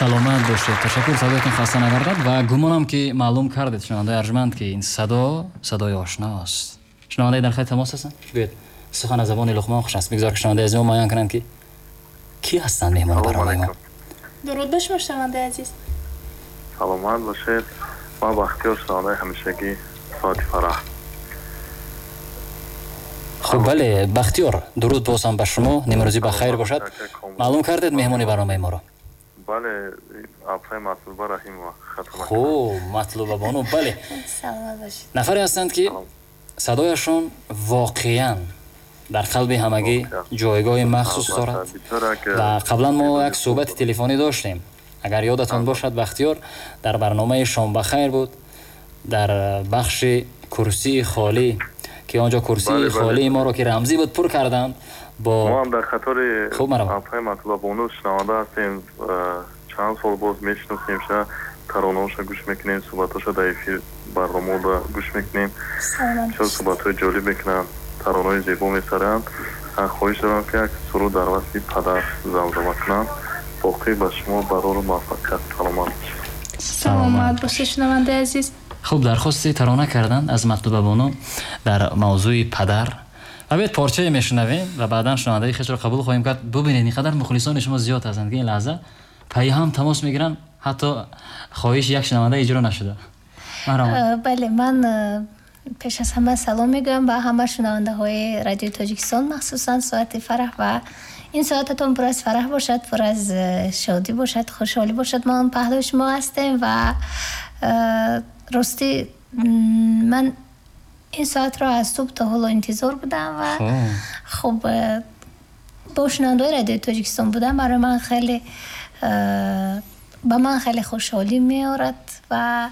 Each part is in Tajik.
Саломат бошед, ташаккур, садоятон хаста нагардад ва гумонам ки маълум кардед, шунавандаи арҷманд, ки ин садо садои ошност. Шунавандаи дар хати тамос ҳастанд? Гӯед, сухан аз забони Луқмон хуш аст. Бигзор ки шунавандаи аз мо муайян кунанд, ки кӣ ҳастанд меҳмони барномаи мо. Дуруд ба шумо, шунавандаи азиз. Саломат бошед. Ман Бахтиёр, шунавандаи ҳамешагӣ соати фараҳ. Хуб, бале, Бахтиёр, дуруд боз ҳам ба шумо, нимрӯзӣ ба хайр бошад. Маълум кардед меҳмони барномаи моро? Бале, апаи Матлуба Раҳимова. Хуб, Матлуба бону, бале. Саломат бошед. Нафаре ҳастанд, ки садояшон воқеан дар қалби ҳамагӣ ҷойгоҳи махсус дорад ва қаблан мо як суҳбати телефонӣ доштем. Агар ёдатон бошад, Бахтиёр, дар барномаи Шом бахайр буд, дар бахши курсии холӣ, ки он ҷо курсии холии моро, ки рамзӣ буд, пур карданд бо мо ҳам дар қатори апаи Матлуба бону шунаванда ҳастем. Чанд сол боз мешиносемша, таронаҳоша гӯш мекунем, суҳбатҳоша дар эфир барномаода гӯш мекунем. Бисёр суҳбатҳои ҷолиб мекунанд, таронаҳои зебо месароянд. Хоҳиш дорам, ки як суруд дар васфи падар замзама кунам. Боқӣ ба шумо барору муваффақият, саломат бошед. Саломат бошед, шунавандаи азиз. Хуб, дархости тарона карданд аз Матлуба бону дар мавзӯи падар. Ва биёед, порчае мешунавем ва баъдан шунавандаи хешро қабул хоҳем кард. Бубинед, ин қадар мухлисони шумо зиёд ҳастанд, ки ин лаҳза пайи ҳам тамос мегиранд, ҳатто хоҳиши як шунаванда иҷро нашуда. Бале, ман пеш аз ҳама салом мегӯям ба ҳама шунавандаҳои Радиои Тоҷикистон, махсусан соати фараҳ, ва ин соататон пур аз фараҳ бошад, пур аз шодӣ бошад, хушҳолӣ бошад. Мо паҳлӯи шумо ҳастем ва ростӣ ман ин соатро аз субҳ то ҳоло интизор будам ва хуб, бо шунавандаҳои Радиои Тоҷикистон будам барои ман хеле, ба ман хеле хушҳолӣ меорад. Ва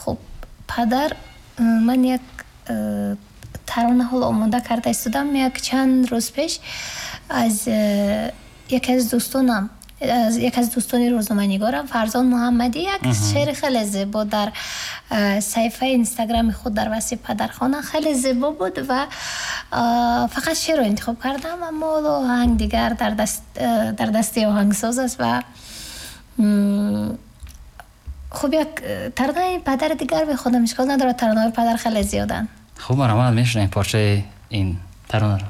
хуб, падар, ман як тарона ҳоло омода карда истодам. Як чанд рӯз пеш аз яке аз дӯстонам, аз яке аз дӯстони рӯзноманигорам Фарзон Муҳаммадӣ, як шеъри хеле зебо дар саҳифаи Инстаграми худ дар васфи падархона, хеле зебо буд ва фақат шеърро интихоб кардам, аммо ҳоло оҳанг дигар дар дасти оҳангсоз аст. Ва хуб, як таронаи падари дигар мехонам, ишкол надорад, таронаҳои падар хеле зиёданд. Хуб, марҳамат, мешунавем порчаи ин таронаро.